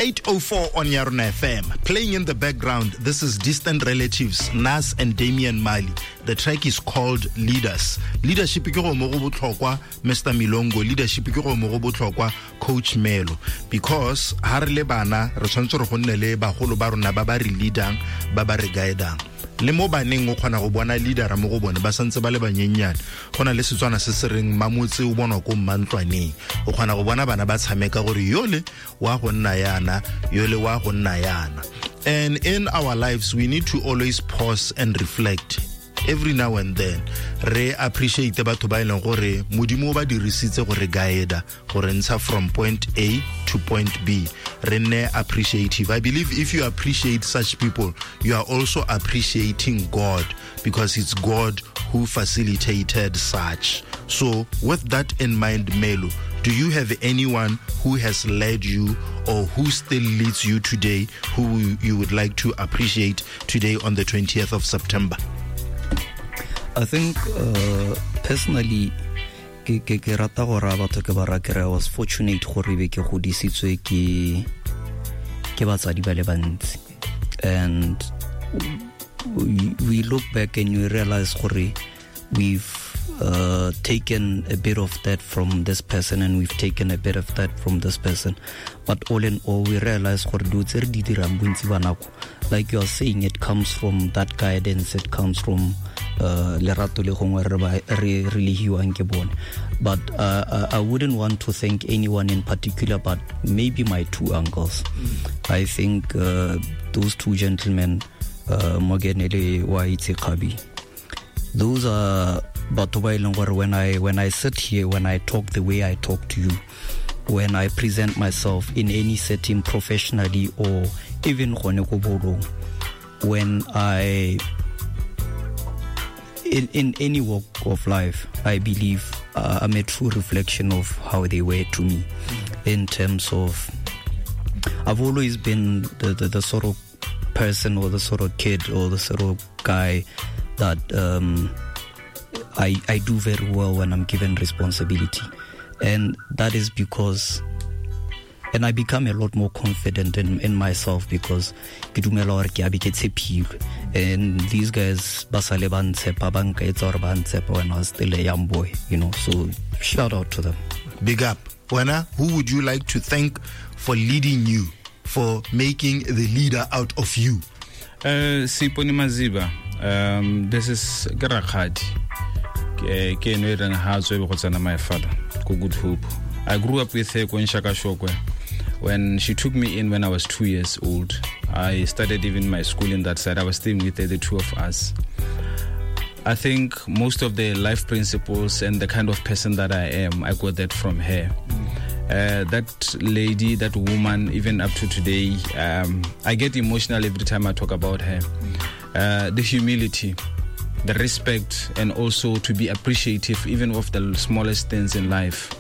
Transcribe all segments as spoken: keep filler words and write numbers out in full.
eight oh four on Yarona F M. Playing in the background, this is Distant Relatives, Nas and Damian Marley. The track is called Leaders. Leadership ke go mo go botlhokwa, Mister Milongo. Leadership ke go mo go botlhokwa, Coach Melo. Because ha re le bana, re tshwanetse re go nne le bagolo ba rona ba ba re leadang, ba ba re guidang. Le mo baneng o kgona go bona leadera mo go bone ba santse ba le banyenyane. Go na le Setswana se se reng mamotse o bonwa ko mmantlwaneng. O kgona go bona bana ba tshameka gore yole wa go nna yana, yole wa go nna yana. And in our lives we need to always pause and reflect every now and then, re appreciate batho ba e leng gore Modimo o ba dirisitse go re guide, go re ntsha from point A to point B. Re nne appreciative. I believe if you appreciate such people, you are also appreciating God, because it's God who facilitated such. So with that in mind, Melo, do you have anyone who has led you or who still leads you today who you would like to appreciate today on the twentieth of September? I think uh, personally ke ke ke rata go raya batho ke ba raya ke re I was fortunate gore be ke godisitswe ke ke batsadi ba le bantsi, and we, we look back and you realize gore we've uh, taken a bit of that from this person and we've taken a bit of that from this person, but all in all we realize gore dilo tse re di dirang bontsi ba nako, like you are saying, it comes from that guidance, it comes from uh, lerato le gongwe re ba- re re le hiwang ke bone. But uh, I, I wouldn't want to thank anyone in particular, but maybe my two uncles. I think uh, those two gentlemen, uh, Morgan le Waitse Kgabi, those are batho ba e leng gore when I when I sit here, when I talk the way I talk to you, when I present myself in any setting, professionally or even gone ko bolong, when I in, in any walk of life, I believe uh, I'm a true reflection of how they were to me in terms of I've always been the, the, the sort of person or the sort of kid or the sort of guy that um, I, I do very well when I'm given responsibility. And that is because, and I become a lot more confident in, in myself because ke dumela gore ke a be ke tshepilwe. And these guys ba sale ba ntshepa, ba nkaetsa gore ba ntshepa when I was still a young boy, you know. So shout out to them. Big up. Wena, who would you like to thank for leading you, for making the leader out of you? Uh, Siponi Maziba, um, this is ke rakgadi. Ke ke eno e reng ha tswe be go tsena my father ko Good Hope. I grew up with her ko Nshakashokwe. When she took me in when I was two years old, I started even my school in that side. I was staying with her, the two of us. I think most of the life principles and the kind of person that I am, I got that from her. Uh, that lady, that woman, even up to today, um, I get emotional every time I talk about her. Uh, the humility, the respect, and also to be appreciative even of the smallest things in life.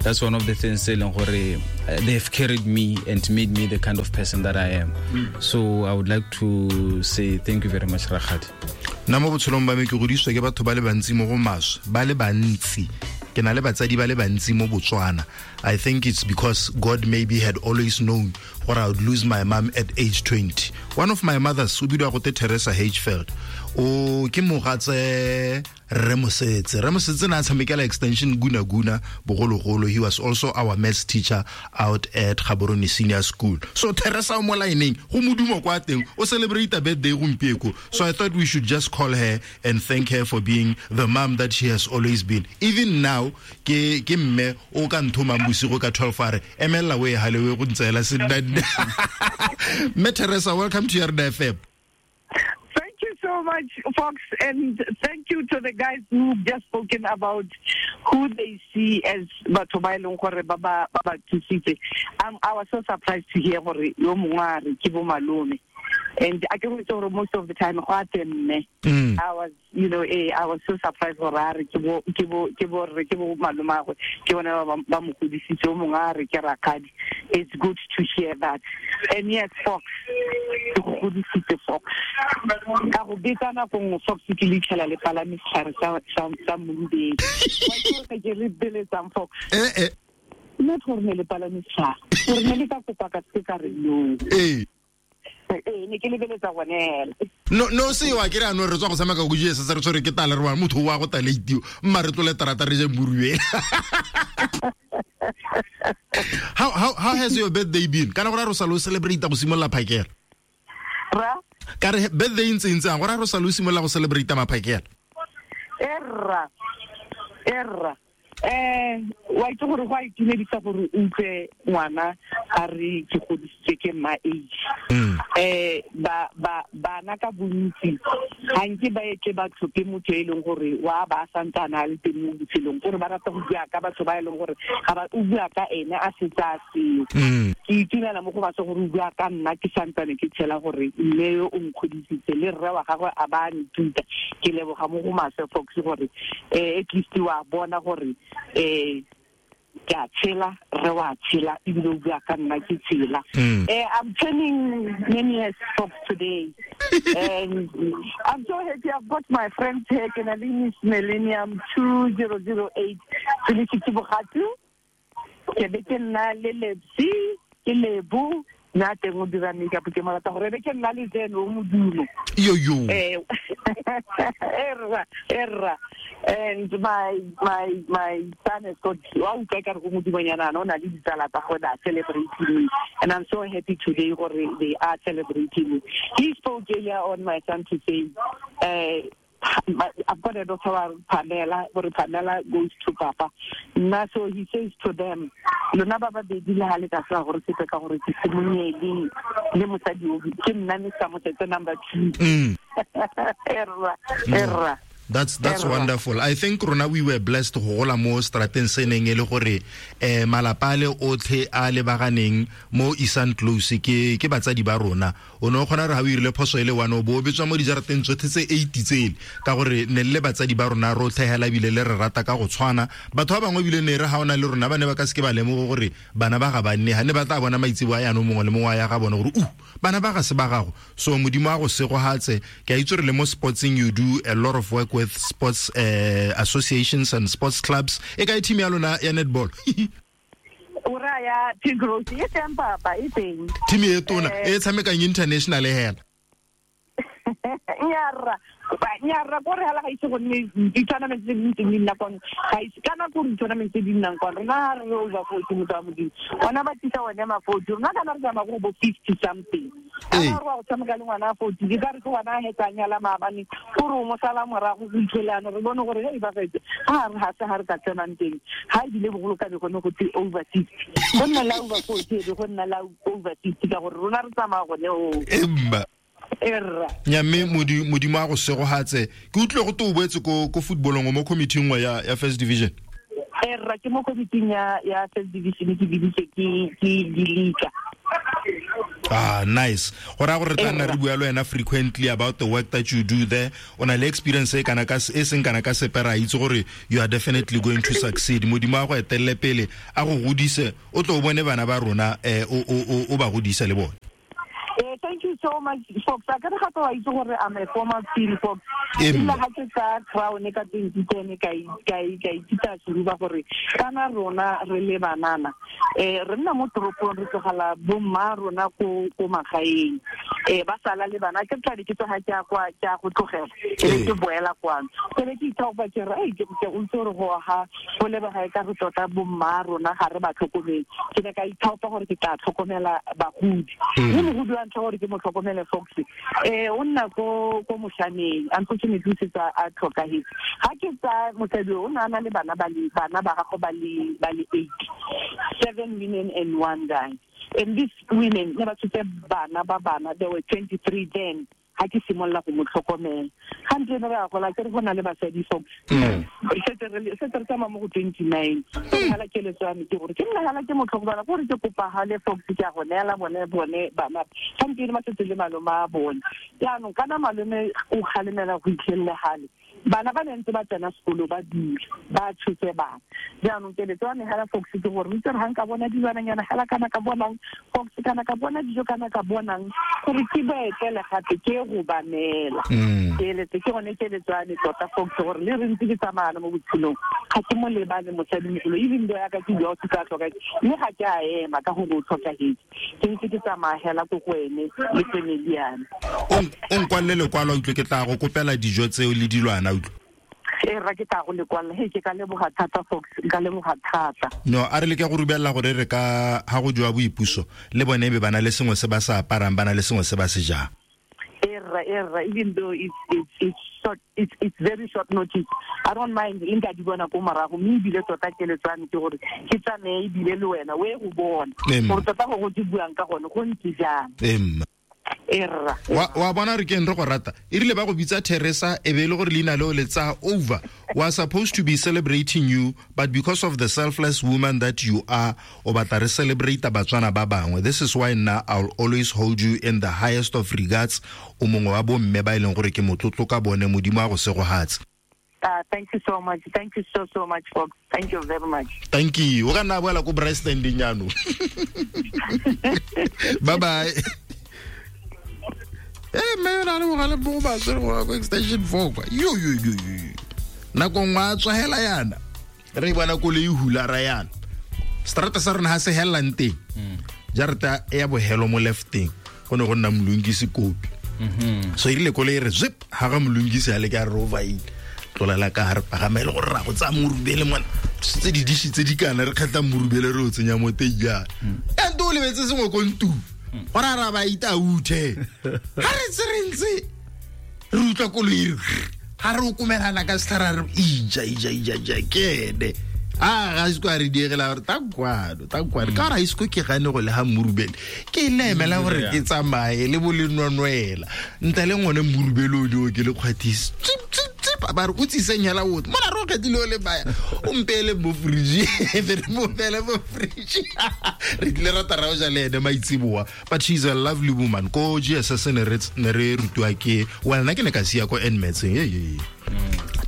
That's one of the things e leng gore, uh, they have carried me and made me the kind of person that I am. So I would like to say thank you very much, Rakgadi. Nna mo botshelong ba me ke godisitswe ke batho ba le bantsi mo go maswe, ba le bantsi. Ke na le batsadi ba le bantsi mo Botswana. I think it's because God maybe had always known gore I would lose my mom at age twenty. One of my mothers o bidiwa gote Teresa Hfeld, o ke mogatse Rre Mosetse. Rre Mosetse na a tshamekela Extension Guna Guna bogologolo. He was also our maths teacher out at Gaborone Senior School. So Teresa o mo lineng go modumo kwa teng, o celebrate birthday gompieko. So I thought we should just call her and thank her for being the mom that she has always been. Even now ke ke mme o ka nthomang bosigo ka twelve a re emella o e halewe go ntseela senna. Mme Teresa, welcome to Yarona F M. Thank you so much, Fox, and thank you to the guys who've just spoken about who they see as batho ba e leng gore ba ba ba ba thusitse. Um, I was so surprised to hear gore yo mongwe a re ke bo malome. And I can gore most of the time go a te mme. Mm. I was, you know, eh, I was so surprised gore a re ke bo ke bo ke bo re ke bo malomagwe, ke bone ba ba mo godisitse, o mongwe a re ke rakgadi. It's good to hear that. And yes, Fox, ke go godisitse, Fox. Ka go betsa nako nngwe, Fox, ke leitlhela le palame setlhare sa sa sa morubedi. Wa itse gore ke re beletsang, Fox? Eh eh. Nna gore ne le palame setlhare gore ne le ka kopa ka se ka re no. Ee. Ee, ne ke lebeletsa gone hela. No no se wa ke re ano re tswa go tshameka go J S S re tshwere ke tala re wa motho wa go taleitio mma re tlole terata re je moruwe. How how how has your birthday been? Kana gore re sa lo celebrate go simolla phakela. Ra? Ka re birthday ntse ntse gore re sa lo simolla go celebrate maphakela. Erra. Erra. Eh wa itse gore go a itumedisa gore o utlwe ngwana a re ke godisitse ke ma age. Eh ba ba bana ka bontsi ga nke ba etle ba tlhophe motho e leng gore wa ba santsana a le teng mo botshelong gore ba rata go bua ka batho ba e leng gore ga ba o bua ka ene a setse a seo. Ke itumela mo go batho gore o bua ka nna ke santsane ke tshela gore mme yo o nkgodisitse le rre wa gagwe a ba nthuta. Ke leboga mo go maswe Fox gore eh at least wa bona gore eh ke a tshela re wa tshela ebile o bua ka nna ke tshela. Eh I'm turning many years Fox today and I'm so happy I've got my friends here. Ke na le Miss Millennium two zero zero eight Felicity Bogatu, ke be ke nna le Lepsi ke Lebo nna teng o dira makeup ke mo rata gore be ke nna le tseno o modumo. Yo yo. Eh erra erra and my my my son has got wa utlwa ka re go modimonyana o na le ditsala tsa gagwe ba celebrating me and I'm so happy today gore they are celebrating me. He spoke earlier on, my son, to say uh I've got a daughter Pamela, gore Pamela goes to Papa. Nna so he says to them, lona ba babedi le ha le ka tla gore sepe ka gore ke simonyedi le mosadi o ke nna me sa mosetse number two. Mm. Erra erra. That's that's wonderful. I think rona we were blessed go gola mo strateng se neng e le gore eh malapa le otlhe a lebaganeng mo Eastern Close ke ke batsadi ba rona. O no kgona re ha o irile phoso e le one o bo betswa mo dijarateng tsotlhe tse eight tsele ka gore ne le batsadi ba rona rotlhe hela bile le re rata ka go tshwana. Batho ba bangwe bile ne re ha ona le rona ba ne ba ka se ke ba lemogo gore bana ba ga ba nne ha ne ba tla bona maitsebo a yano mongwe le mongwe ya ga bona gore u bana ba ga se ba gago. So modimo a go segohatse ke a itse re le mo sportsing you do a lot of work with sports uh, associations and sports clubs. E ka team ya lona ya netball? Ora ya Pink Rose e teng papa e teng. Team e tona e tshamekang international hela. Nyarra nyarra gore hala ga itse go nne di-tournament tse dintsi di nna kwano ga itse ka nako gore di-tournament tse di nnang kwano rona ga re over forty motho wa modimo ona ba tlisa one ma forty rona kana re tsamaya go bo fifty something a re wa go tshameka le ngwana a forty ke ka re ke ngwana a hetsa nyala maabane gore o mo sala morago go itlhelano re bone gore hei ba fetse ga re ga se ga re ka tsenang teng ga ebile bogolo ka be gone go tse over sixty go nna la over forty e be go nna la over sixty ka gore rona re tsamaya gone o emba. Erra. Nya mme modimo a go segohatse ke utlwe go to boetse ko ko footballong mo committee nngwe ya ya first division. Erra ke mo committee ya ya first division ke biditse ke ke dilika. Ah, nice. Gore gore re tla nna re bua le wena frequently about the work that you do there. O na le experience e kana ka e seng kana ka sepe ra itse gore you are definitely going to succeed. Modimo a go etelle pele a go godise o tlo bone bana ba rona eh o o o ba godise le bone. Eh, thank you so much, Fox. I gotta have to gore I'm a former field Fox. Nna ha ke tsa crown ka twenty ten ka ka ka itita suruba gore kana rona re le banana. Eh re nna mo toropong re tlogela bomma rona ko ko magaeng. Eh ba sala le bana ke tla di ke tsoga ke a kwa ke a go tlogela. Ke ke boela kwano. Ke be ke ithaopa ke re ai ke ke o ntse re go ha go lebega e ka re tota bomma rona ga re ba tlhokomele. Ke ne ka ithaopa gore ke tla tlhokomela bagodi. Mme mogodi wa ntlha gore ke mo tlhokomele Fox. Eh o nna ko ko moshaneng unfortunately se tsa a tlhokahetse. Ha ke tsa mosadi o na na le bana ba le bana ba gago ba le ba le eight seven women and one guy. And these women ne ba tshotse bana ba bana there were twenty-three then. Ha ke simolla go mo tlhokomela. Ga ntse re a gola ke re go na le basadi Fox. Setse re setse re tsamaya mo go twenty-nine. Hala keletso ya me ke gore ke nna hala ke mo tlhokomela gore ke kopa hale Fox ke a go neela bone bone bana. Ga ntse re ba setse le malome a bone. Jaanong kana malome o kgalemela go itlhelela hale. Bana ba ne ntse ba tsena sekolo ba dula ba tshotse bana. Jaanong keletso ya me hela Fox ke gore itse re ga nka bona dilwananyana hela kana ka bonang Fox kana ka bona dijo kana ka bonang gore ke ba etele gape ke go ba neela. Keletso ke gone keletso ya me tota Fox gore le re ntse ke tsamaya mo botshelong ga ke mo lebane mosadimogolo even though ya ka ke bua o se ka tlhoka mme ga ke a ema ka gore o tlhokagetse ke ntse ke tsamaya hela ko go ene le family ya me. O nkwalele lekwalo utlwe ke tla go kopela dijo tseo le dilwana. E ra ke tla go lekwalla he ke ka leboga thata Fox ka leboga thata. No a re le ke go rubella gore re ka ha go jwa boipuso le bone be bana le sengwe se ba sa aparang bana le sengwe se ba se jang. E ra e ra even though it's it's it's short it's it's very short notice I don't mind le nka di bona ko morago mme ebile tota keletso ya me ke gore ke tsamaye ebile le wena o ye go bona gore tota go go di buang ka gone go ntse jang. Emma Erra. Wa wa bona re ke re go rata e rile ba go bitsa Teresa e be le gore leina leo le tsa over was supposed to be celebrating you but because of the selfless woman that you are o batla re celebrate Batswana ba bangwe. This is why now I'll always hold you in the highest of regards. O mongwe wa bomme ba ileng gore ke motlotlo ka bone modimo a go segohatse. Uh, thank you so much. Thank you so, so much, folks. Thank you very much. Thank you. O ka nna boela ko braai standing yano. Bye bye. Eh me na le mogale bo ba tsere go go extension four kwa. Yo yo yo yo. Nako ngwa tswa hela yana. Re bona koloi hula ra yana. Strata sa rona ha se helang teng. Jarta ya bohelo mo lefteng. Go ne go nna Mlungisi kopi. Mhm. So irile koloi re zip ha ga Mlungisi a le ka rover ile. Tlolela ka hare pagamele gore ra go tsaya morubele mona. Tse di dishi tse di kana re kgetla morubele re o tsenya mo teng ya. Ento o lebetse sengwe ko ntu. Gore a ra ba ita uthe. Ha re tse re ntse re utlwa koloi ha re o komelana ka setlhare re ija ija ija ija kene. A ga se kwa re diegela gore ta kwano ta kwano ka ra isko ke gane go le ha morubele ke le emela gore ke tsamaye le bo le nonwela ntle le ngone morubele o di o ke le kgwathisi tsip tsip tsip ba re o tsiseng hela o mona re o kgethile o le baya o mpele mo fridge re mo pele mo fridge re tlile ra tara o ja le ene maitsiboa. But she's a lovely woman ko G S S ne re ne re rutwa ke well nna ke ne ka sia ko N-Mets ye ye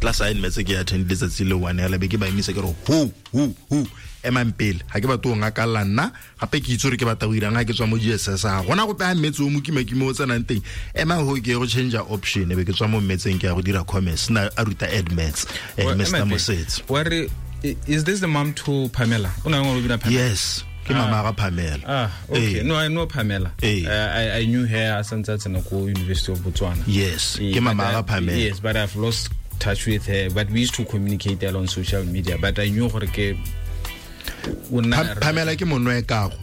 class a N-Mets ke attend letsatsi le one ya be ke ba emise ke re ho ho ho emang pele ha ke batho ngakalla nna gape ke itse gore ke batla go irang ha ke tswa mo G S S a gona go paya mmetse o mokima ke mo tsenang teng ema ho ke go change option e be ke tswa mo mmetseng ke ya go dira commerce na a ruta admits eh Mister Mosetse. Where is this the mom to Pamela? O na ngwe bina Pamela? Yes, ke mama ga Pamela. Ah, okay. Eh. No, I know Pamela. Eh. Uh, I I knew her as tsena ko University of Botswana. Yes, eh, ke mama ga Pamela. Yes, but I've lost touch with her, but we used to communicate a lot on social media, but I knew gore ke Pamela ke monwe kago.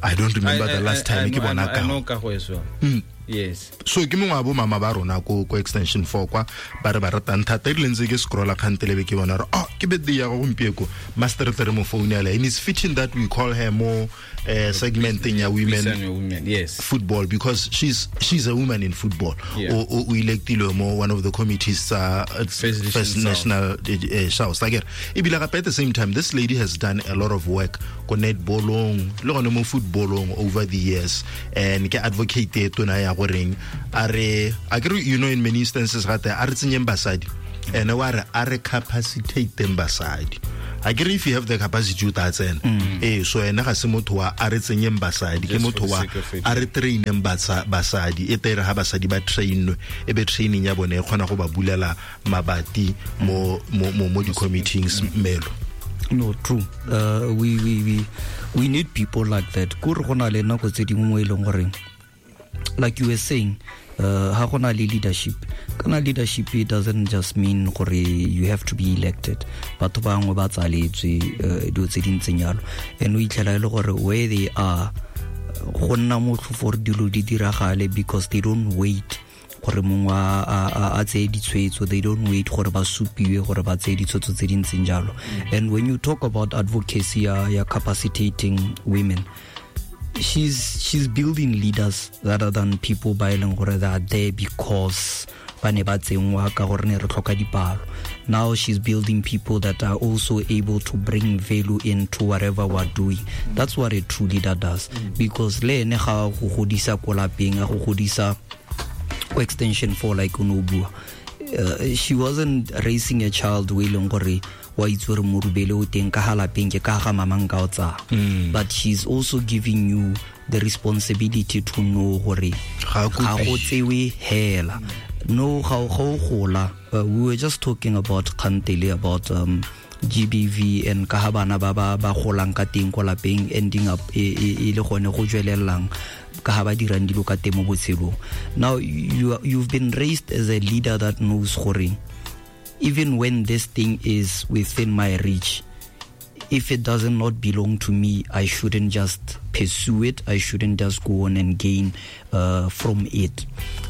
I don't remember I, the last I, time I, ke bona kago. I know kago as well. Mm. Yes. So ke mongwe wa bo mama ba rona ko ko extension four kwa ba re ba ratang thata e rile ntse ke scrolla kgantele be ke bona re oh ke birthday ya go gompieko master re tle re mo founela and it's fitting that we call her more uh, segmenting ya women, women yes football because she's she's a woman in football. Yeah. O o electilwe mo one of the committees uh, First, First National uh, South. Like ebile gape at the same time this lady has done a lot of work ko netballong le gone mo footballong over the years and ke advocate e tona ya goreng a re a ke you know in many instances gate a re tsenyeng basadi ene wa re a re capacitate them basadi a ke re if you have the capacity o tla tsena eh so ene ga se motho wa a re tsenyeng basadi ke motho wa a re traineng basadi e tere ha basadi ba trainwe e be training ya bone e kgona go ba bulela mabati mo mo mo di committees melo. No, true. Uh, we we we we need people like that. Ko re gona le nako tse dingwe mo e leng gore like you were saying, uh, ha gona le leadership. Kana leadership it doesn't just mean gore you have to be elected. Batho bangwe ba tsaletswe dilo tse di ntseng jalo. And o itlhela e le gore where they are go nna motlhofo gore dilo di diragale because they don't wait gore mongwe a tseye ditshwetso, they don't wait gore ba supiwe gore ba tseye ditshwetso tse di ntseng jalo. And when you talk about advocacy ya, ya capacitating women, she's she's building leaders rather than people ba e leng gore they are there because ba ne ba tsenngwa ka gore ne re tlhoka dipalo. Now she's building people that are also able to bring value into whatever we're doing. That's what a true leader does. Because le ene ga go godisa ko lapeng, a go godisa ko extension four like o ne o bua, uh, she wasn't raising a child o e leng gore wa itse gore morubele o teng ka ga lapeng ke ka ga mamang ka o tsaya. But she's also giving you the responsibility to know gore Ga ga go tsewe hela. No, ga go gola. Uh, we were just talking about kgantele about um, G B V and ka ha bana ba ba ba golang ka teng ko lapeng, ending up e e le gone go jwelellang ka ha ba dirang dilo ka teng mo botshelong. Now you you've been raised as a leader that knows gore even when this thing is within my reach, if it doesn't not belong to me, I shouldn't just pursue it. I shouldn't just go on and gain uh, from it.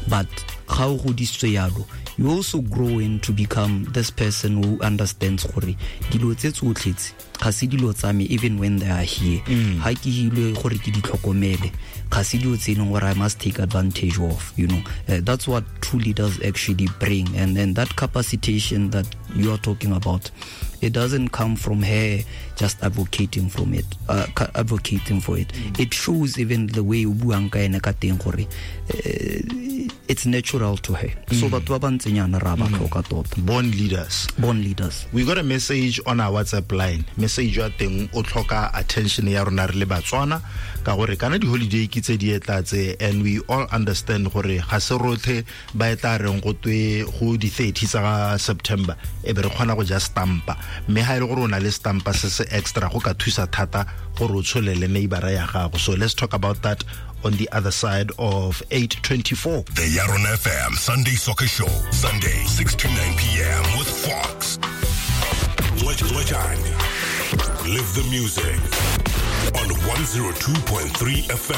But ga o godisitswe yalo, you also grow in to become this person who understands gore dilo tse tsotlhe tse ga se dilo tsa me even when they are here. Ha ke hilwe gore ke di tlhokomele, ga se dilo tse e leng gore I must take advantage of, you know. Uh, that's what true leaders actually bring. And then that capacitation that you are talking about, it doesn't come from her just advocating from it, uh, advocating for it. Mm. It shows even the way o buang ka ene ka teng gore uh, it's natural to her. Mm. So batho ba ba ntsenyana ra ba tlhoka tota. Born leaders. Born leaders. We got a message on our WhatsApp line. Message ya teng o tlhoka attention ya rona re le Batswana ka gore kana di holiday ke tse di etla tse, and we all understand gore ga se rotlhe ba etla reng go twe go di thirty tsa September e be re kgona go ja stampa, mme ha ile gore o na le stampa se se extra go ka thusa thata gore o tsholele neighbor ya gago. So let's talk about that on the other side of eight twenty-four. The Yarona F M Sunday Soccer Show, Sunday six to nine p.m. with Fox. Lechani. Live the music on one oh two point three F M.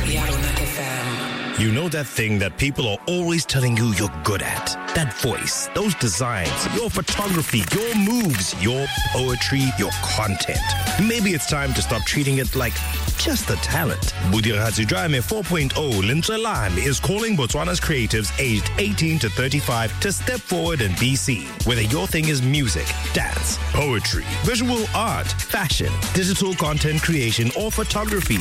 Yarona F M. You know that thing that people are always telling you you're good at? That voice, those designs, your photography, your moves, your poetry, your content. Maybe it's time to stop treating it like just a talent. Bodiragatsi Jwa Me four point oh Lentswe la Me is calling Botswana's creatives aged eighteen to thirty-five to step forward and be seen. Whether your thing is music, dance, poetry, visual art, fashion, digital content creation, or photography,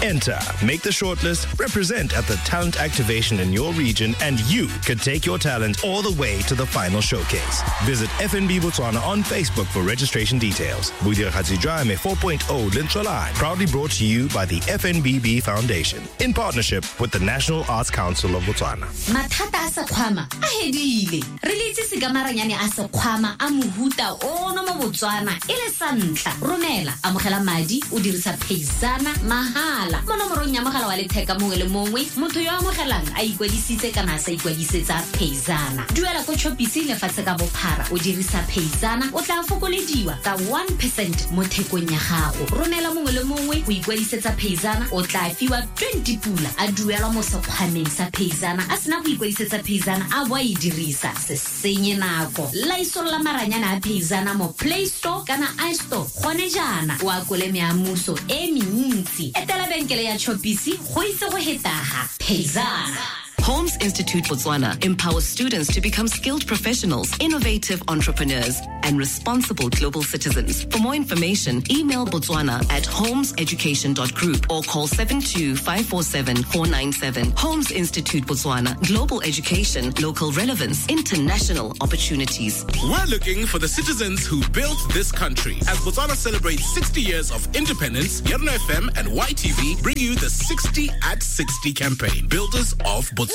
enter, make the shortlist, represent at the talent activation in your region, and you could take your talent all the way to the final showcase. Visit F N B Botswana on Facebook for registration details. Bodiragatsi Jwa Me four point oh Lentswe la Me, proudly brought to you by the F N B B Foundation in partnership with the National Arts Council of Botswana. Mathata a sekgwama a hedile. Re le itsise ka maranyane a sekgwama a mohuta ono mo Botswana e le sa ntlha. Romela, amogela madi o dirisa Paysana mahala mo nomorong ya mogala wa letheka mongwe le mongwe. Motho yo amogelang a ikwadisitse kana a sa ikwadisetsa Paysana. Duela ko Chopisi lefatshe ka bophara o dirisa Paysana, o tla fokolediwa ka one percent mo thekong ya gago. Romela mongwe le mongwe o ikwadisetsa Paysana, o tla fiwa twenty pula a duelwa mo sekgwameng sa Paysana. A sena go ikwadisetsa Paysana a bo a e dirisa. Se senye nako. Laisolla maranyane a Paysana mo Play Store kana iStore gone jaana o akole meamuso e mentsi. Etela benkele ya Chopisi go itse go hetaga Paysana. Holmes Institute Botswana empowers students to become skilled professionals, innovative entrepreneurs, and responsible global citizens. For more information, email botswana at holmes education dot group or call seven two five four seven four nine seven. Holmes Institute Botswana, global education, local relevance, international opportunities. We're looking for the citizens who built this country. As Botswana celebrates sixty years of independence, Yarona F M and Y T V bring you the sixty at sixty campaign, Builders of Botswana.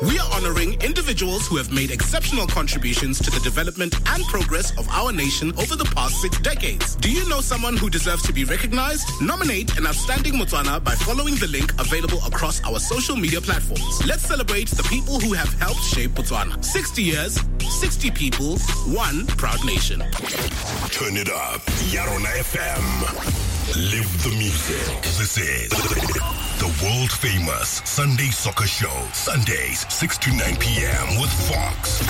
We are honoring individuals who have made exceptional contributions to the development and progress of our nation over the past six decades. Do you know someone who deserves to be recognized? Nominate an outstanding Motswana by following the link available across our social media platforms. Let's celebrate the people who have helped shape Botswana. sixty years, sixty people, one proud nation. Turn it up. Yarona F M. Live the music. This is the world famous Sunday Soccer Show. Sundays, six to nine p.m. with Fox.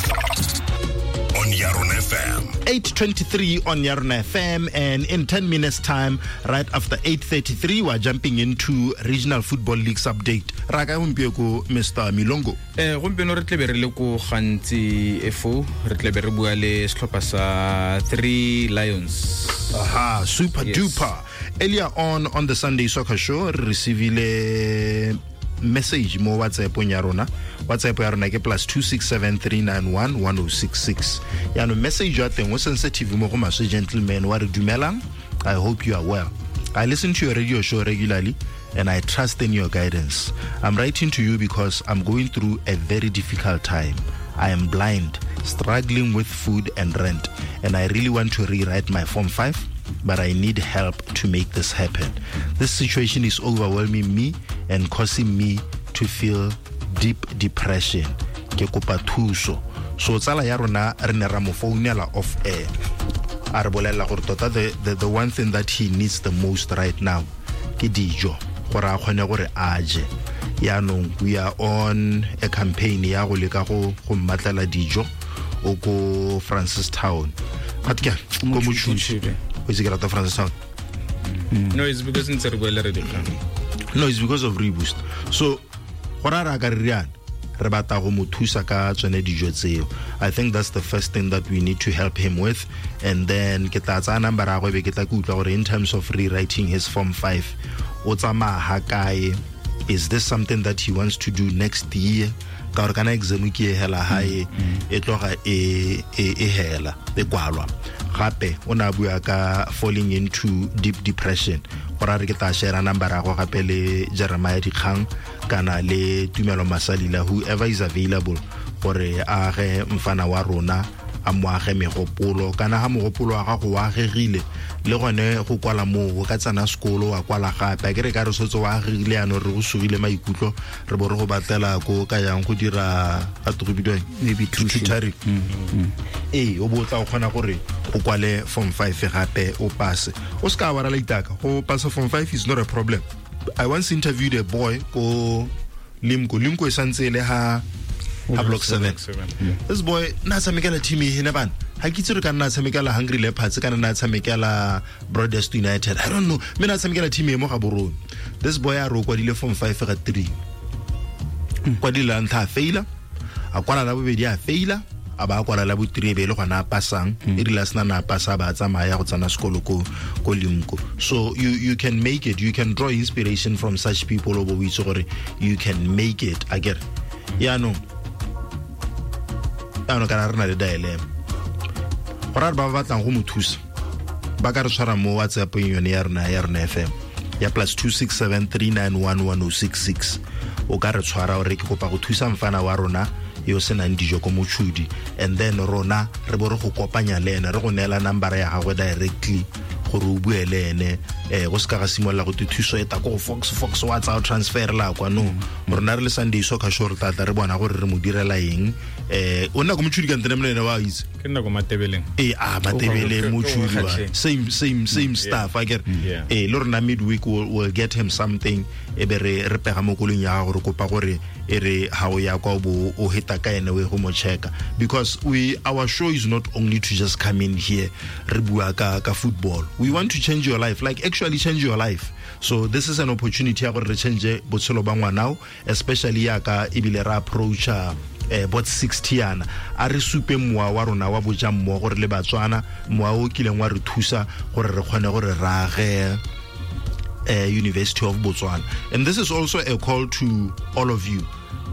On Yarona F M. eight twenty-three on Yarona F M, and in ten minutes time, right after eight thirty-three, we're jumping into Regional Football League's update. Raka gompieno Mister Milongo. Eh gompieno re tlebe re le ko Gantsi F O, re tlebe re bua le setlhopha sa Three Lions. Aha, super yes. Duper. Earlier on on the Sunday Soccer Show, re receivile message mo WhatsApp-ong ya rona. WhatsApp ya rona ke plus two six seven three nine one one oh six six. Yaanong message ya teng o sensitive mo go maswe gentleman wa re dumelang. I hope you are well. I listen to your radio show regularly and I trust in your guidance. I'm writing to you because I'm going through a very difficult time. I am blind, struggling with food and rent, and I really want to rewrite my Form five, but I need help to make this happen. This situation is overwhelming me and causing me to feel deep depression. Ke kopa thuso. So tsala ya rona re ne ra mo founela off air. A re bolela gore tota the, the, the one thing that he needs the most right now ke dijo, gore a kgone gore a je. Yaanong we are on a campaign ya go leka go go mmatlela dijo o ko Francistown. But ke ko Mochudi. O itse ke rata Francistown. No, it's because ntse re boele re dikgang. No, it's because of Reboost. So go ra ra ka re riana re batla go mo thusa ka tsone dijo tseo. I think that's the first thing that we need to help him with. And then ke tla tsaya number ya gagwe be ke tla ke utlwa gore in terms of rewriting his Form five o tsamaya ha kae. Is this something that he wants to do next year? Ka gore kana exam ke e hela hae e tloga e e e hela e kwalwa. Gape o na bua ka falling into deep depression. Gore a re ke tla share number ya gagwe gape le Jeremiah Dikgang kana le Tumelo Masalila, whoever is available, gore a ge mfana wa rona a mo age megopolo. Kana ha mogopolo wa gago wa agegile le gone go kwala moo o ka tsena sekolo wa kwala gape. A ke re ka re setse wa agegile yanong re go sugile maikutlo re bo re go batlela ko ka yang go dira a go bidiwang maybe tutoring. Ee, o bo tla o kgona gore o kwale Form five gape o passe. O ska wa rala itaka go passa Form five is not a problem. I once interviewed a boy ko Limko. Limko e santse le ha ha block seven. Yeah. This boy na tshamekela team e hene bana. Ha ke itse re ka nna tshamekela Hungry Leopards kana na tshamekela Broadest United. I don't know. Me na tshamekela team e mo ga borone. This boy a ro kwadile Form five ga three. Kwadile la ntlha a faila. A kwala la bobedi a faila. A ba kwala la bo three be le gona a passang. E rile a sena na passa ba tsamaya go tsena sekolo ko ko Limko. So you you can make it. You can draw inspiration from such people o bo itse gore you can make it. Akere. Yaanong ano kana re na le dilemma. Gore ba ba batlang go mo thusa ba ka re tshwara mo WhatsApp yone ya rona ya rona F M ya plus two six seven three nine one one oh six six. O ka re tshwara gore ke kopa go thusa mfana wa rona yo senang dijo ko Mochudi, and then rona re bo re go kopanya le ene re go neela number ya gagwe directly gore o bue le ene. Eh go ska ga simolola go thuso e ta ko Fox Fox WhatsApp transfer la kwa no. Rona re le Sunday Soccer Show re tla re bona gore re mo direla eng. Eh o nna ko Mochudi ka ntene mle ene wa itse ke nna ko Matebeleng. Eh ah Matebeleng Mochudi wa same same same stuff I get. Eh le rona midweek we'll, we'll get him something e be re re pega mo kolong ya gore kopa gore e re ha o ya kwa bo o heta ka ene we go mo checka, because we our show is not only to just come in here re bua ka ka football. We want to change your life, like actually change your life. So this is an opportunity ya gore re change botshelo ba ngwanao, especially ya ka ebile ra approacha eh bot sixty yana a re supe mowa wa rona wa boja mmogo gore le Batswana mowa o kileng wa re thusa gore re kgone gore rage Uh, University of Botswana. And this is also a call to all of you.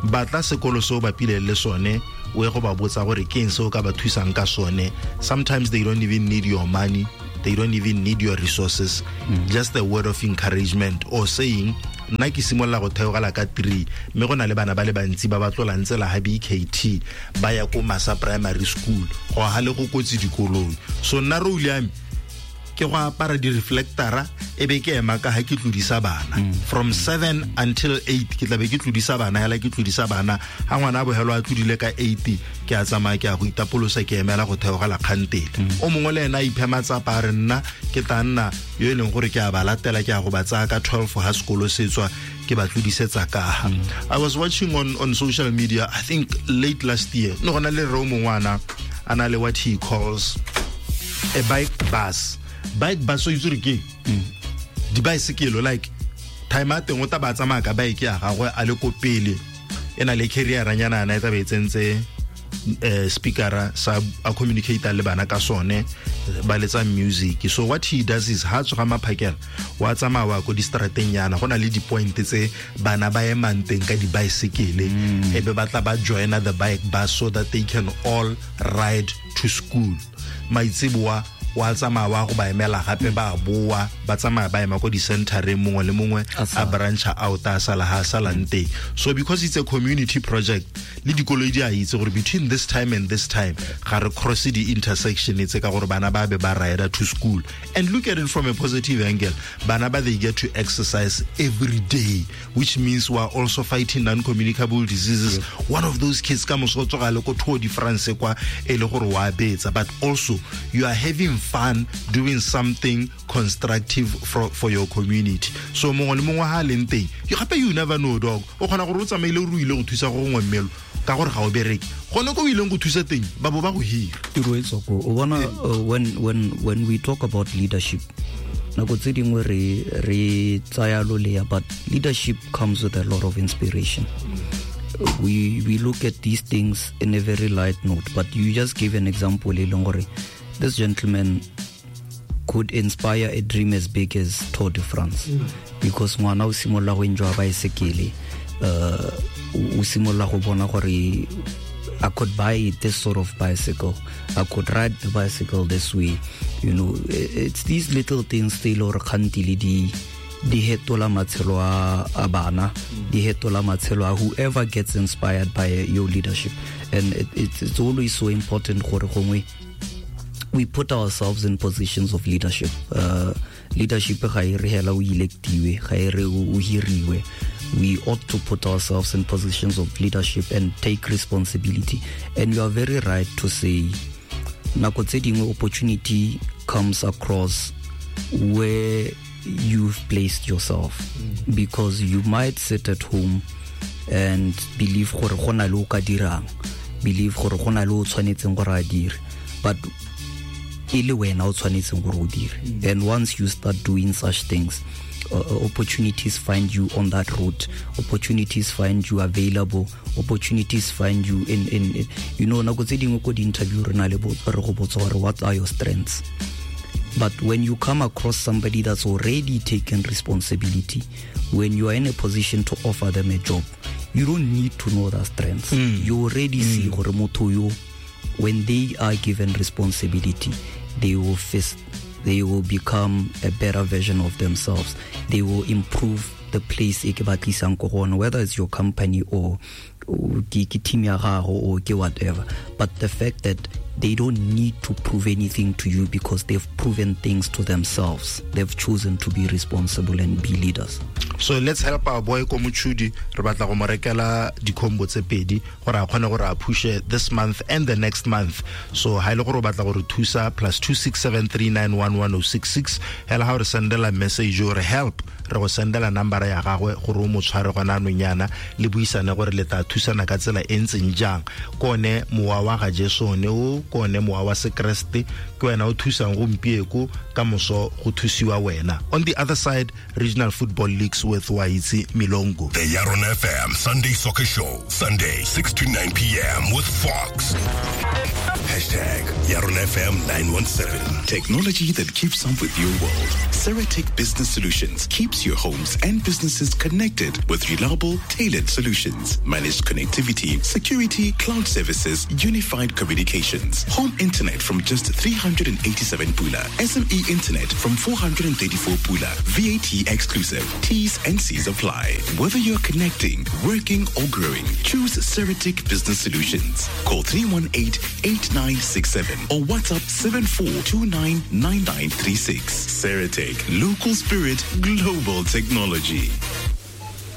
Batla sekolo seo bapile le sone o ye go ba botsa gore ke eng se o ka ba thusang ka sone. Sometimes they don't even need your money, they don't even need your resources. Mm. Just a word of encouragement or saying nna ke simolola go theogela ka three mme go na le bana ba le bantsi ba ba tlolang tsela ha B K T ba ya ko Masa Primary School go ha le go kotsi dikolong. So nna role ya me ke go apara di-reflectora e be ke ema ka ha ke tlodisa bana. From seven until eight ke tla be ke tlodisa bana hela ke tlodisa bana. Ha ngwana a bohelo a tlodile ka eight ke a tsamaya ke a go itapolosa ke emela go theogela kgantele. O mongwe le ena a iphe matsapa a re nna ke tla nna yo e leng gore ke a ba latela ke a go ba tsaya ka twelve ha sekolo se tswa ke ba tlodisetsa ka ha. I was watching on on social media I think late last year no gona le re o mongwana a na le what he calls a bike bus. Bike bus o itse re ke di bicycle like time a teng o ta ba tsamaya ka bike ya gagwe a le ko pele e na le carrier nyana ana e tla be e tsentse eh speakera sa a communicate le bana ka sone ba letsa music. So what he does is ha tsoga maphakela wa tsamaya wa ko distrateng yana go na le di-point tse bana ba emang teng ka di-bicycle, e be ba tla ba joina the bike bus so that they can all ride to school. Maitseboa wa tsamaya wa go ba emela gape ba boa ba tsamaya ba ema ko di-centereng mongwe le mongwe a brancha out a sala ha salang teng. So because it's a community project le dikoloi di a itse gore between this time and this time ga re cross di-intersection tse ka gore bana ba be ba rider to school. And look at it from a positive angle, bana ba they get to exercise every day, which means we are also fighting non-communicable diseases. Yeah. One of those kids ka moso tsoga le ko Tour de France kwa e le gore wa betsa, but also you are having fun doing something constructive for, for your community. So mongwe le mongwe ha leng teng, gape you never know dog, o kgona gore o tsamaile o ruile go thusa go gongwe mmelo ka gore ga o bereke gone ko o ileng go thusa teng ba bo ba go hira. Tiro e tswa ko o bona, when when when we talk about leadership nako tse dingwe re re tsaya lolea, but leadership comes with a lot of inspiration. We we look at these things in a very light note, but you just gave an example e leng gore this gentleman could inspire a dream as big as Tour de France. Mm. Because ngwana o simolola go enjoy bicycle, uh o simolola go bona gore I could buy this sort of bicycle, I could ride the bicycle this way. You know, it's these little things tse le gore kgantile di di hetola matshelo a bana, di hetola matshelo a whoever gets inspired by your leadership. And it, it's, it's always so important gore gongwe we put ourselves in positions of leadership. Uh, leadership ga e re hela o electiwe, ga e re o hiriwe. We ought to put ourselves in positions of leadership and take responsibility. And you are very right to say, nako tse dingwe opportunity comes across where you've placed yourself. Mm. Because you might sit at home and believe gore go na le o ka dirang, believe gore go na le o tshwanetseng gore a dire, but e le wena o tshwanetseng gore o dire. And once you start doing such things, uh, opportunities find you on that route, opportunities find you available, opportunities find you in, in, in you know, nako tse dingwe ko di-interview re na le re go botsa gore what are your strengths. But when you come across somebody that's already taken responsibility, when you are in a position to offer them a job, you don't need to know their strengths. Mm. You already mm. see gore motho yo, when they are given responsibility, they will face, they will become a better version of themselves. They will improve the place e ke ba tlisang ko go ona, whether it's your company or ke team ya gago or ke whatever. But the fact that they don't need to prove anything to you because they've proven things to themselves. They've chosen to be responsible and be leaders. So let's help our boy ko Mochudi. Re batla go mo rekela di-combo tse pedi gore a kgone gore a pushe this month and the next month. So ha ile gore o batla gore thusa plus two six seven three nine one one oh six six, hela ha o re sendela message or help, re go sendela number ya gagwe gore o mo tshware gona anong yana le buisane gore le tla thusana ka tsela e ntseng jang. Ke one mowa wa ga Jesu ne o, ke one mowa wa Sekreste, ke wena o thusang gompieko ka moso go thusiwa wena. On the other side, regional football leagues with Waitse Milongo. The Yarona F M Sunday Soccer Show, Sunday six to nine p.m. with Fox. Hashtag Yarona F M nine one seven. Technology that keeps up with your world. Ceratec Business Solutions keeps your homes and businesses connected with reliable, tailored solutions. Managed connectivity, security, cloud services, unified communications. Home internet from just three hundred eighty-seven pula. S M E internet from four hundred thirty-four pula. V A T exclusive. T's and C's apply. Whether you're connecting, working or growing, choose Ceratec Business Solutions. Call three one eight, eight nine six seven or WhatsApp seven four two nine nine nine three six. Ceratec, local spirit, global technology.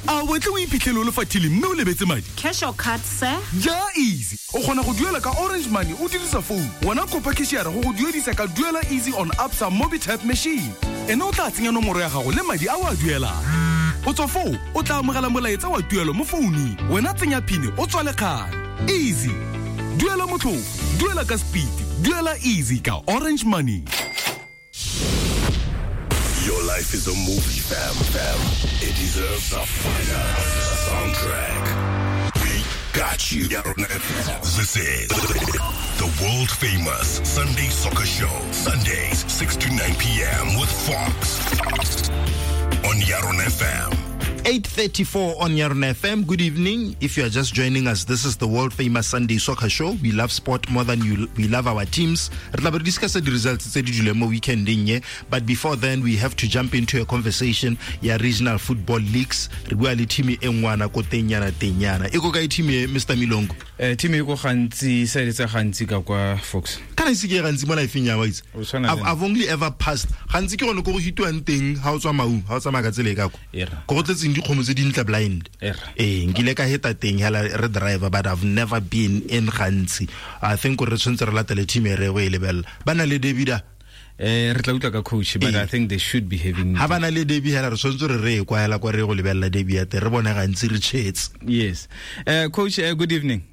A wetle o iphitlhele o le fathile mme o lebetse madi. Cash or card, sir? Ja easy. O kgona go duela ka Orange Money o dirisa phone. Wena kopa cashier go go duedisa ka Duela Easy on Absa Mobitap machine. Ene o tla tsenya nomoro ya gago le madi a o a duelang. O tswa foo, o tla amogela molaetsa wa tuelo mo founung. Wena tsenya PIN o tswale kgale. Easy. Duela motlhofo, duela ka speed, duela easy ka Orange Money. Your life is a movie, fam, fam. It deserves a fire soundtrack. We got you. This is the The world famous Sunday Soccer Show. Sundays, six to nine p.m. with Fox. On Yarona F M. eight thirty-four on Yarona F M. Good evening. If you are just joining us, this is the world famous Sunday Soccer Show. We love sport more than you. We love our teams. Re tla be re discuss the results tse di duleng mo weekending ye. But before then, we have to jump into a conversation ya regional football leagues. Re bua le team e ngwana ko teng yana teng yana. E ko kae team e, Mister Milongo? Eh, team e ko gantsi, sa e tsa gantsi ka kwa Fox. Kana ise ke gantsi mo life-eng ya wa itse. O tshwana le I've, I've only ever passed. Gantsi ke gone ko go hitiwang teng ha o tswa Maun, ha o tsamaya ka tsela e ka kwa. Era. Ko go tletseng dikgomo tse dintle blind. Era. Eh, nkile ka heta teng hela re driver, but I've never been in Gantsi. I think re tshwanetse re latele team e re go e lebella. Ba na le David a? Eh, re tla utlwa ka coach, but Eh. I think they should be having Ha ba na le Derby hela re tshwanetse re re kwa hela kwa re go lebella Derby ya teng, re bone Gantsi re tshetse. Yes. Eh, coach, eh, good evening.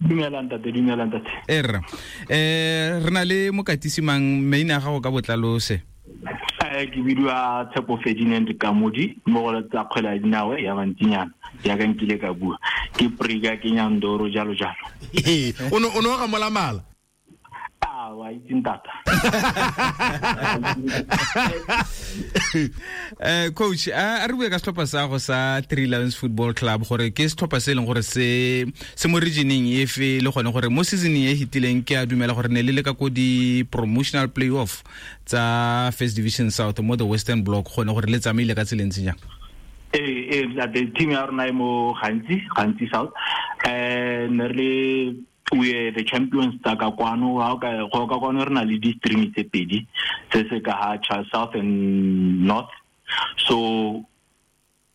Dumela ntate, dumela ntate. Erra. Eh, re na le mokatisi mang maina a gago ka botlalo se? Eh, ke bidiwa Tshepo Ferdinand Kamodi, mo go tsa kgwele ya dinao ya bantsinyana, jaaka nkile ka bua. Ke Prika, ke Nyandoro, jalo jalo. Eh, o no, o no ga mola mala? Ah, wa itse ntata. Eh, coach, a, a re bue ka setlhopha sa go sa Three Lions Football Club, gore ke setlhopha se e leng gore se, se mo regioneng efe, le gone gore mo seasoneng e fetileng ke a dumela gore ne le le ka ko di promotional playoff tsa First Division South mo the Western Block, gone gore le tsamaile ka tsela e ntseng jang? Eh, eh, the team ya rona e mo Gantsi, Gantsi South. Eh, ne re le we are the champions tsa ka kwano. Ha o ka, go ka kwano re na le di-stream tse pedi, se se ka ha Charles South and North. So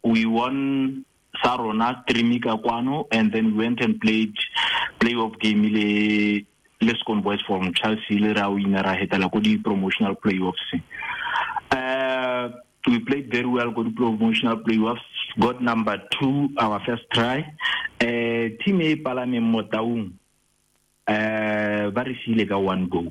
we won sa rona stream ka kwano, and then we went and played playoff game le le Scone Boys from Chelsea, le ra wina ra hetela ko di promotional playoffs. Uh, we played very well go di promotional playoffs, got number two our first try. Uh, team e palameng mo Taung, uh, ba re siile ka one goal.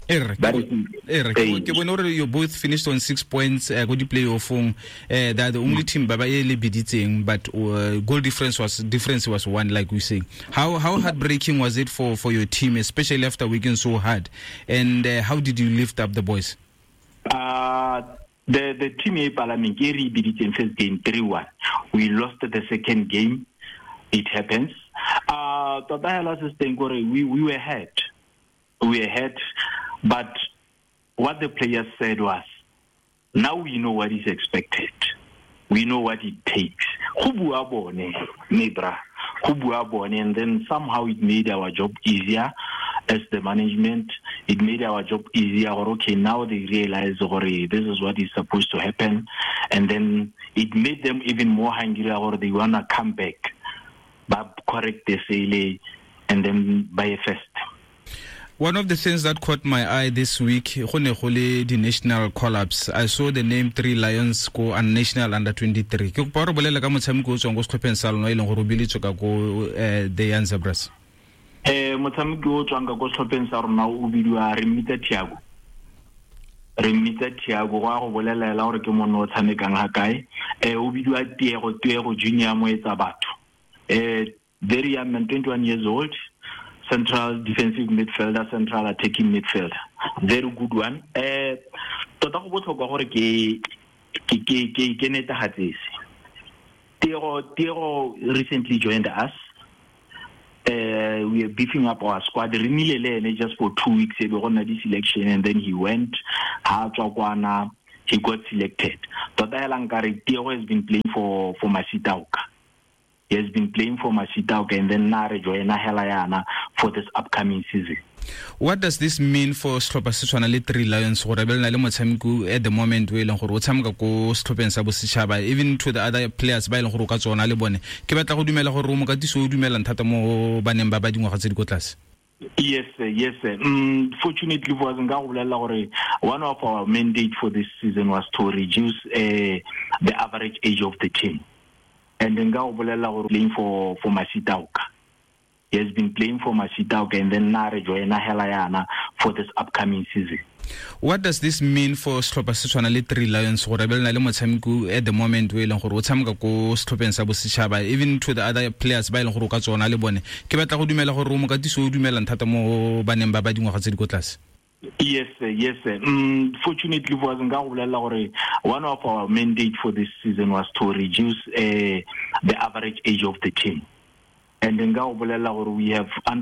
Erre, Ba ke re bo-, siile. erre, ke bo-, Ee. ke bone gore you both finished on six points, uh, go di playoffong. Uh, they are the only team ba ba e le biditseng, but, uh, goal difference was, difference was one, like we say. How, how heartbreaking was it for, for your team, especially after working so hard? And, uh, how did you lift up the boys? Uh, the, the team e palameng ke re biditseng first game three one. We lost the second game. It happens. Uh, tota hela se teng gore we, we were hurt. We were hurt, but what the players said was, now we know what is expected. We know what it takes. Go bua bone, Nebra. Go bua bone, and then somehow it made our job easier as the management. It made our job easier. Okay, now they realize, gore, this is what is supposed to happen. And then it made them even more hungry, or they wanna come back. But correct the sale and then buy a first. One of the things that caught my eye this week, go ne go le di national collapse. I saw the name Three Lions go and national under twenty-three. Ke kopa gore bolele ka motshameko o tswang ko setlhopheng sa lona, e leng gore o biletswe ka ko, eh, the Young Zebras. Eh, motshameko o tswang ka ko setlhopheng sa rona o bidiwa re mmitsa Thiago. Re mmitsa Thiago, go a go bolelela gore ke monna o tshamekang ha kae. Eh, o bidiwa Tiego, Tiego Junior Moetsa batho. Eh, very young man, twenty-one years old, central defensive midfielder, central attacking midfielder. Very good one. Eh, tota go botlhokwa gore ke, ke, ke, ke, ke netefatse se. Tiego, Tiego recently joined us. Uh, we are beefing up our squad. Re nnile le ene just for two weeks, e be go nna di selection, and then he went. Ha tswa kwana, he got selected. Tota hela nkare Tiego has been playing for, for Masitaoka. He has been playing for Masitaoka, and then na re joina hela yana for this upcoming season. What does this mean for setlhopha se tshwana le Three Lions gore be le na le motshameko at the moment o e leng gore o tshameka ko setlhopheng sa bosetšhaba, even to the other players ba e leng gore o ka tsona le bone? Ke batla go dumela gore o mokatisi o dumelang thata mo baneng ba ba dingwaga tse di ko tlase. Yes, sir, yes, sir. Mm, fortunately for us, nka go bolelela gore one of our mandate for this season was to reduce, uh, the average age of the team. And nka go bolelela gore playing for, for Masitaoka. He has been playing for Masitaoka, and then na re joina hela yana for this upcoming season. What does this mean for setlhopha se tshwana le Three Lions, gore be le na le motshameko at the moment o e leng gore o tshameka ko setlhopheng sa bosetšhaba, even to the other players ba e leng gore o ka tsona le bone? Ke batla go dumela gore o mokatisi o dumelang thata mo baneng ba ba dingwaga tse di ko tlase. Yes, sir, yes, sir. Mm, fortunately for us, nka go bolelela gore one of our mandate for this season was to reduce uh, the average age of the team. And nka go bolelela gore we have under